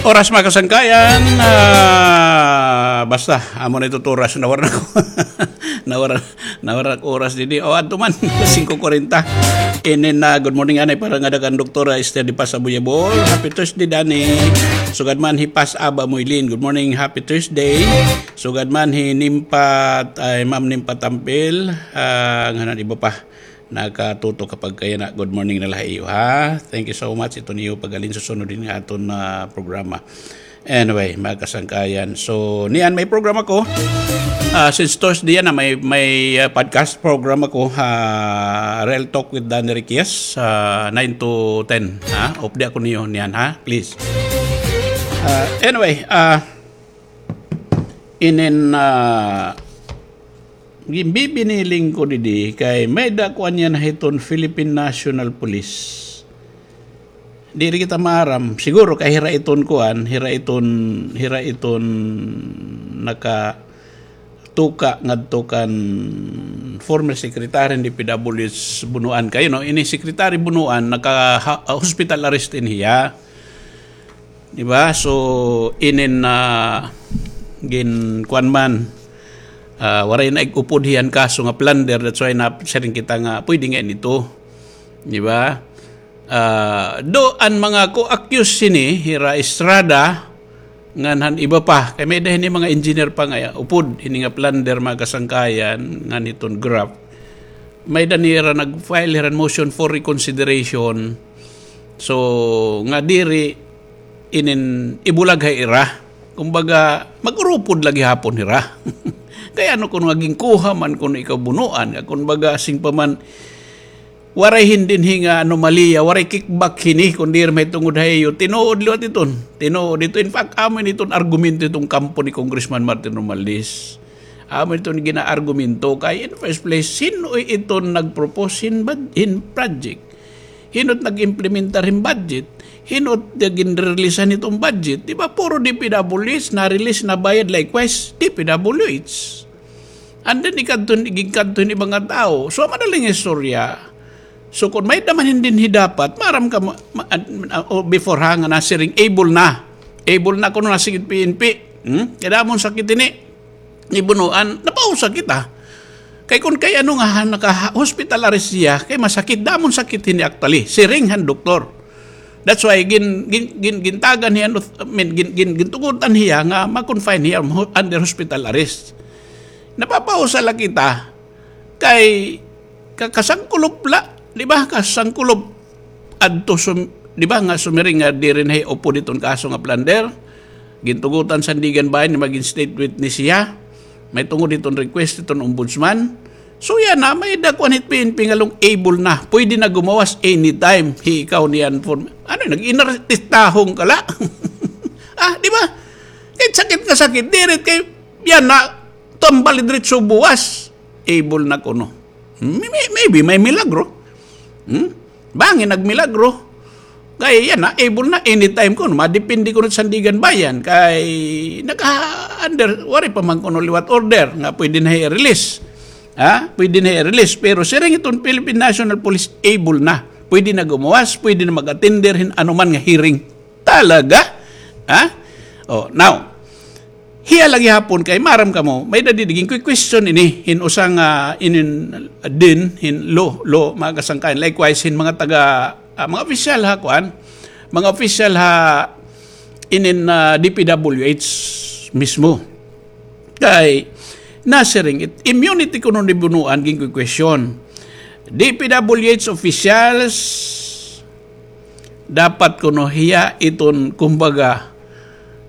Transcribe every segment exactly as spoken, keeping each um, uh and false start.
Oras, mga kasangkayan, ah, basta, amo na ito oras, nawara na ko. Nawara, nawara ko oras didi. O, adto man, singko kwarenta. Inin na, good morning, anay, para ngada kan Doktora Esther de Paz Abuyabol. Happy Thursday, Dani. Sugad man hi Paz Aba Moylin. Good morning, happy Thursday. Sugad man hi Nimpat, ay, Ma'am Nimpat Tampil. Ah, ngano iba pa. Nakatutok ka pagkayana, good morning na la ha iyo, ha? Thank you so much. Ito niyo pag-alinsusunod hin aton, ah, programa. Anyway, mga kasangkayan. So, niyan may programa ko. Ah, since Thursday yana, may, may, ah, podcast program ako, ha, Real Talk with Danny Riquez, ah, nine to ten, ha? Updi ako niyo niyan, ha? Please. Ah, anyway, ah, inin, ah, Ginbibiniling ko didi kay may-ada kuan yana hiton Philippine National Police. Diri kita maaram. Siguro kay hira iton kuan, hira iton, hira iton nakatuka ngadto kan former secretary hin D P W H Bunuan. Kay, you know, ini Secretary Bunuan naka ha-, hospital arrest in hiya. Di ba? So, inin, ah, gin-, kuan man, ah, waray na ig-upod hiyan kaso nga plunder, that's why nasiring kita nga pwede nga ini ito. Di ba? Ah, do an mga co-accused sini, hira Estrada, ngan han iba pa, kay may-ada hini mga engineer pa nga upod hini nga plunder, mga kasangkayan, ngan hiton graft. May-ada nira nag-file hiran motion for reconsideration. So, nga diri inin ibulag ha ira. Kumbaga, mag-urupod la gihapon hira. Kay ano kuno nga ginkuha man kuno ikaw Bunuan, nga kumbaga, sing pa man, waray hin dinhi nga anomalya, waray kickback hini, kun diri mahitungod ha iyo. Tinuod liwat iton. Tinuod ito. In fact, amo ini iton argumento iton kampo ni Congressman Martin Romualdez. Amo iton ginaargumento kay in first place, hin-o iton nag-propose hin bud-, hin project? Hin-o it nag-implementar hin budget? Hin-o it ginreleasan hiton budget? Di ba, puro D P W H, na-release, nabayad, likewise, D P W H. And then, ikadto, igikadto hin iba nga tawo. So, madaling istorya. So, kun may-ada man hin dinhi dapat, maaram ka, ma-, ma-, ah, o before ha, nga nasiring, able na. Able na kuno, nasiring it P N P. Hmm? Kay damo hin sakit ini. Ni Bunuan, napausa kita. Kay kun kay ano nga, ha, naka-hospital arrest siya, kay masakit, damo hin sakit hini actually. Siring han doktor. That's why gin-, gin-, gin-, gintagan hiya, I mean, gin-, gin-, gintugutan hiya nga ma-confine hiya under hospital arrest. Napapausa la kita kay ka-, kasangkulop la, di ba? Kasangkulop adto sum-, di ba nga sumiring nga diri na hiya upod hiton kaso nga plunder. Gintugutan Sandiganbayan nga magin state witness hiya. Mahitungod hiton request hiton ombudsman. So yana, may-ada kuan hit P N P nga lung able na. Pwede na gumawas anytime. Hi ikaw niyan form. Ano, nag-inartistahon ka la. Ah, di ba? Kahit sakit nga sakit, diri kay yana, tambal diretso buwas. Able na kuno. May-, may-, maybe may milagro. Hmm? Bangin nagmilagro. Kay yana, able na anytime kuno. Madepende kuno Sandiganbayan. Kay naka-under, waray pa man kuno liwat order nga pwede na i-release. Ha? Pwede na i-release. Pero siring iton Philippine National Police, able na. Pwede na gumawas, pwede na mag-attender hin anuman nga hearing. Talaga? Ha? Oh, now, hiya la gihapon kay maaram kamo, may-ada didi ginki-question ini hin usa nga inin din hin law, law, mga kasangkayan. Likewise, hin mga taga, ah, mga opisyal ha, kuan, mga opisyal ha inin, ah, D P W H mismo. Kay nasiring it, immunity kuno ni Bunuan, ginki-question. D P W H officials, dapat kuno hiya iton, kumbaga,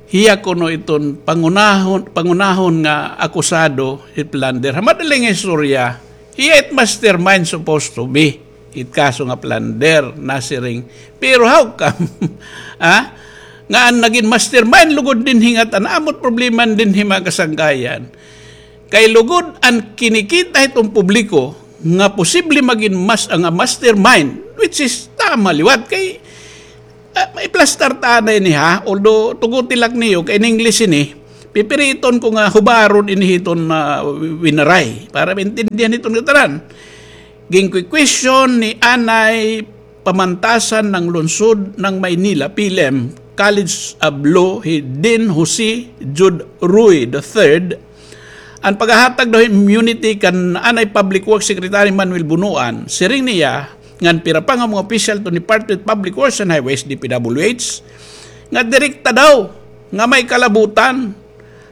hiya kuno iton pangunahon, pangunahon nga akusado hit plunder. Ha madaling istorya, hiya it mastermind supposed to be hit kaso nga plunder, nasiring. Pero how come? Ha? Nga an nagin mastermind lugod dinhi ngatan, amo it problema dinhi, mga kasangkayan. Kay lugod an kinikita hiton publiko nga posible magin mas-, nga mastermind, which is tama liwat kay, ah, maiplastar ta anay ini, ha, although tuguti la ak niyo kay in English ini, pipiriton ko nga hubaron ini hiton, ah, Winaray para maintindihan hiton ngatanan. Ginki-question ni anay pamantasan ng lungsod ng Maynila, PhilHealth, College of Law, hi Dean Jose Jude Roy the third, an paghahatag daw hin immunity kan anay Public Works Secretary Manuel Bonoan, siring niya, ngan pira pa nga mga opisyal hiton Department of Public Works and Highways, D P W H, nga direkta daw nga may kalabutan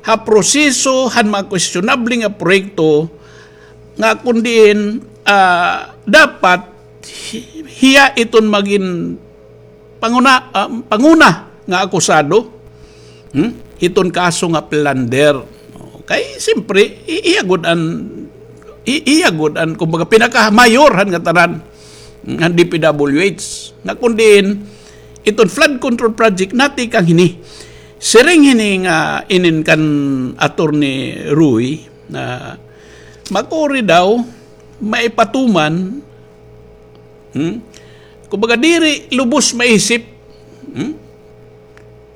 ha proseso han mga questionable nga proyekto nga kon diin, ah, dapat hi-, hiya iton magin panguna, ah, panguna nga akusado, hmm, hiton kaso nga plunder. Kay, siyempre, i-, iya gud an, i-, iya gud an, kumbaga, pinakamayor han ngatanan, hmm, han D P W H. Nga kon diin, iton flood control project natikang hini. Siring hini nga inin kan Attorney Roy na makuri daw maipatuman, hmm? Kumbaga, diri lubos maisip, hmm?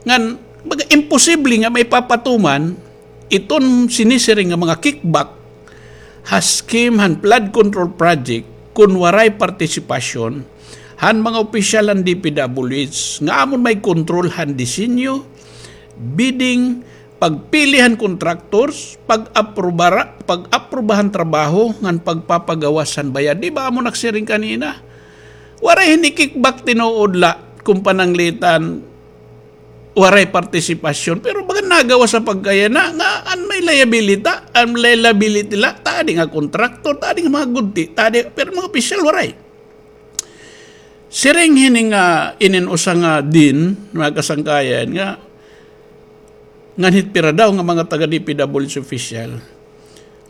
Ngan, kumbaga, imposible nga maipapatuman iton sinisiring nga mga kickback ha scheme han flood control project kon waray partisipasyon han mga opisyal han D P W H nga amon may kontrol han disenyo, bidding, pagpili han contractors, pag-aprobara-, pag-aproba han trabaho, ngan pagpapagawas han bayad. Di ba amo nagsiring kanina? Waray hini kickback tinuod la, kon pananglitan, waray partisipasyon. Pero baga nagawas sa pagkayana, nga an may liability, an liability la, ta adi nga contractor, ta adi nga mga gudti, ta adi, pero mga opisyal, waray. Siring hini nga inin usa nga dean, mga kasangkayan, nga ngan hit pira daw nga mga taga D P W H official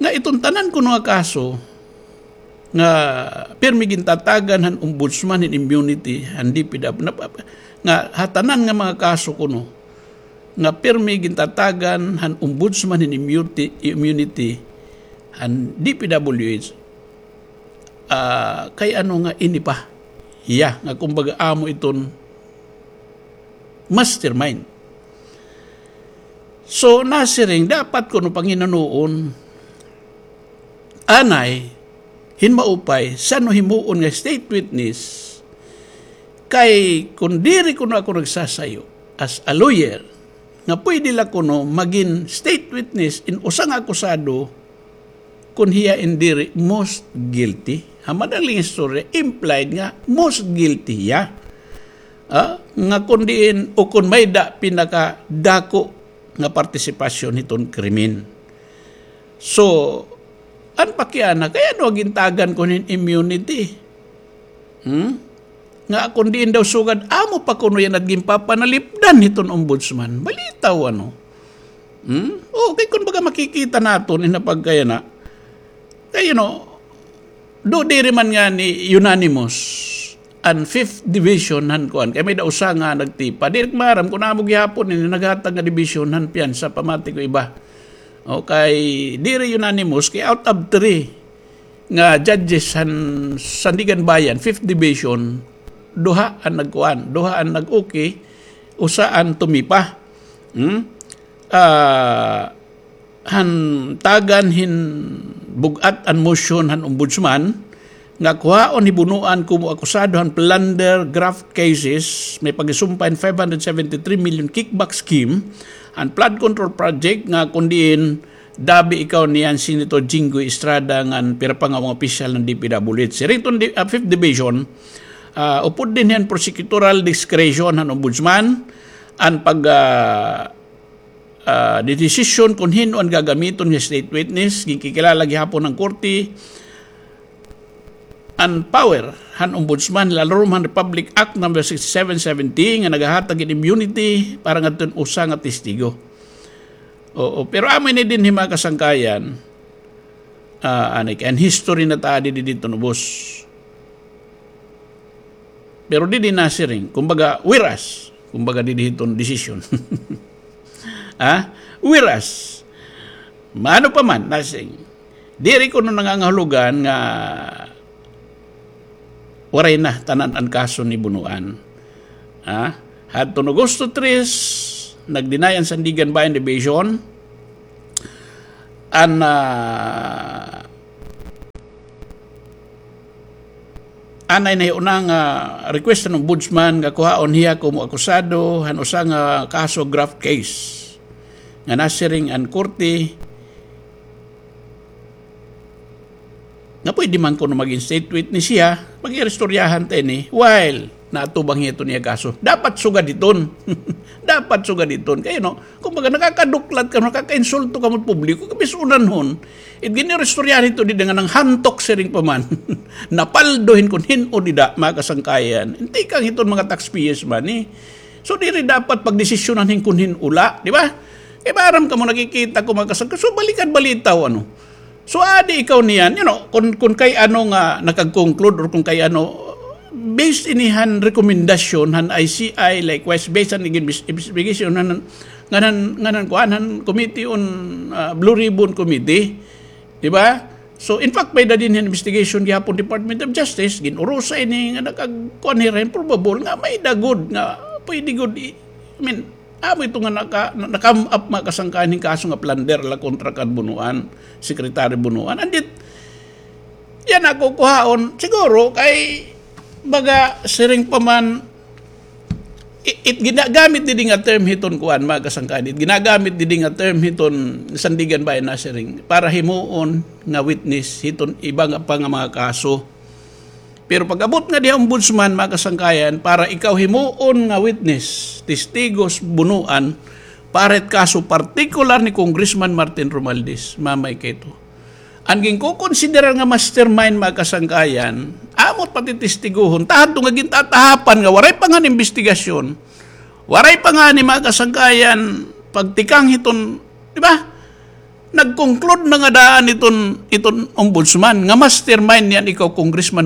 nga iton tanan kuno nga kaso nga pirmi gintatagan han ombudsman hin immunity han D P W, nap-, nga ha tanan nga mga kaso kuno nga pirmi gintatagan han ombudsman hin immunity, immunity han D P W H, ah, kay ano nga ini pa hiya, nga kumbaga amo iton mastermind. So, nasiring, dapat kuno panginanoon, anay, hin maupay, san-o himuon nga state witness, kay kon diri kuno ako nagsasayo, as a lawyer, nga pwede la kuno magin state witness in usa nga akusado, kon hiya in diri most guilty. Ha madaling istorya, implied nga most guilty hiya. Ah, nga kon diin, o kon may-ada pinakadako nga partisipasyon hiton krimen. So, an pakiana, kay ano gintagan kuno hin immunity? Hmm? Nga kon diin daw sugad, amo pa kuno yana it ginpapanalipdan hiton ombudsman. Balitaw, ano? Hmm? O, kay kon baga makikita naton, in pagkayana. Kay, you know, do diri man ngani unanimous an fifth division han kuan. Kay may-ada usa nga nagtipa. Diri ko maaram kon amo gihapon ini naghatag nga division han piyansa, pamati ko iba. O, kay diri unanimous, kay out of three, nga judges han Sandiganbayan, fifth Division, duha an nagkuan, duha an nag-okay, usa an tumipa. Hmm? Ah, han tagan hin bug-at an motion han ombudsman, nga kuhaon hi Bonoan komo akusado han plunder graft cases, may paghisumpa hin five hundred seventy-three million kickback scheme, han flood control project nga kon diin dabi ikaw niyan Senator Jinggoy Estrada ngan pira pa nga mga opisyal han D P W H. Siring iton di-, ah, Fifth Division, ah, upod dinhi an prosecutorial discretion han ombudsman, an pag, ah, ah, di-, desisyon kon hin-o an gagamiton nga state witness, ginkikilala gihapon han korte an power han ombudsman, lalarom han Republic Act number sixty-seven seventy nga nagahatag hin immunity para ngadton usa nga testigo. Oo, pero amo ini dinhi mga kasangkayan, ah, ani, kay an history na ta didi didto ubos. Pero didi nasiring, kumbaga, whereas, kumbaga, didi hiton desisyon. Ha? Whereas, maano pa man, nasiring, diri kuno nangangahulugan nga waray na tanan an kaso ni Bonoan. Ha? Hadton Agosto tres, nag-deny an Sandiganbayan Division, an, ah, anay na hiyo na nga request han ombudsman nga kuhaon hiya komo akusado han usa nga kaso, graft case, nga nasiring an korte nga pwede man kuno mag-instate witness hiya, pag-iristoryahan ta ini, while naatubang hiya hiton iya kaso. Dapat sugad hiton. Dapat sugad hiton. Kay, no, kumbaga, nakakaduklat kamo, nakakainsulto kamo hit publiko, kabis-unan hon. It gin-iristoryahan hito dida nga nanghantok siring pa man. Napaldo hin kun hin-o dida, mga kasangkayan. Tikang hiton mga taxpayers' money. So, diri dapat pagdesisyonan hin kun hin-o la, di ba? Kay maaram kamo, nakikita ko, mga kasangkayan. So, balikan balitaw, ano. So, adi ikaw niyan, you know, kun, kun kay ano nga nakag-conclude or kun kay ano, based ini han rekomendasyon han I C I, likewise, based han igin-, investigation han, ngan han, ngan han kuan han Committee on, ah, Blue Ribbon Committee, di ba? So, in fact, may da dinhi han investigation gihapon Department of Justice, gin-urusa ini nga nakagkuan hira hin probable nga may da gud nga pwede gud i-, I mean, amo ito nga naka-, na-, na-come up, mga kasangkayan, hin kaso nga plunder la kontra kan Bonoan, Secretary Bonoan. And it, yana ako kuhaon, siguro, kay, baga, siring pa man, i-, it ginagamit didi nga term hiton kuan, mga kasangkayan, it ginagamit didi nga term hiton Sandiganbayan Nasiring para himuon nga witness hiton iba nga pa nga mga kaso. Pero pag-abot nga diha ombudsman, mga kasangkayan, para ikaw himuon nga witness, testigos, Bonoan, para it kaso partikular ni Congressman Martin Romualdez, mamay kay ito. An ginkukonsiderar nga mastermind, mga kasangkayan, amo it patitestiguhon, ta hadto nga gintatahapan nga waray pa ngani investigasyon, waray pa ngani, mga kasangkayan, pagtikang hiton, di ba? Nag-conclude na nga daan iton, iton ombudsman nga mastermind niyan ikaw, Congressman